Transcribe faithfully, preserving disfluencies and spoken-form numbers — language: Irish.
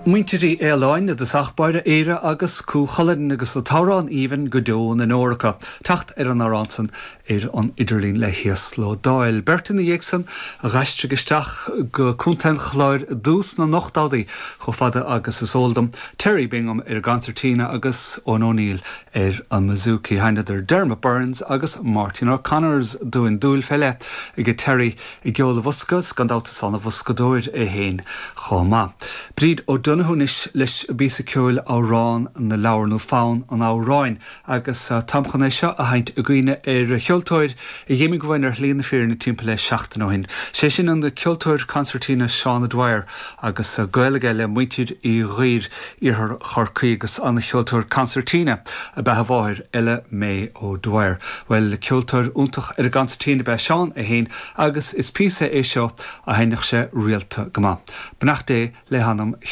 Muintir Uí Fhaoláin i dtosach báire Éire agus Cú Chulainn agus an t-amhrán aoibhinn go deo na ndeor acu. Teacht ar an amhrán san ar an idirlíon le híoslódáil. Beirt ina dhiaidh san a d'aistrigh isteach go Contae an Chláir i dtús na n-ochtóidí chomh fada agus is eol dom Terry Bingham ar an gconsairtín agus Eoin O'Neill ar an mbouzouki. Sheinneadar Dermot Burns agus Martin O'Connors dúinn dúil fé leith ag Terry i gceol an bhosca gan dabht is an-bhoscadóir é féin chomh maith. Bríd O'Donoghue anois leis an bpíosa ceoil amhrán na leabhar nó fonn an amhráin agus uh, táim chun é seo a sheinnt i gcuimhne ar cheoltóir a d'imigh uainn ar shlí na fírinne timpeall le seachtain ó shin. Sé sin an ceoltóir consairtín Seán O'Dwyer agus uh, gaol aige le muintir Uí Dhuibhir iarthar Chorcaí agus an cheoltóir consairtín ab ea a mháthair Ella May O'Dwyer. Well ceoltóir iontach ar an gconsairtín ab ea Seán é féin agus is píosa é seo a sheinneadh sé rialta go maith. Beannacht Dé le hanam Sheáin.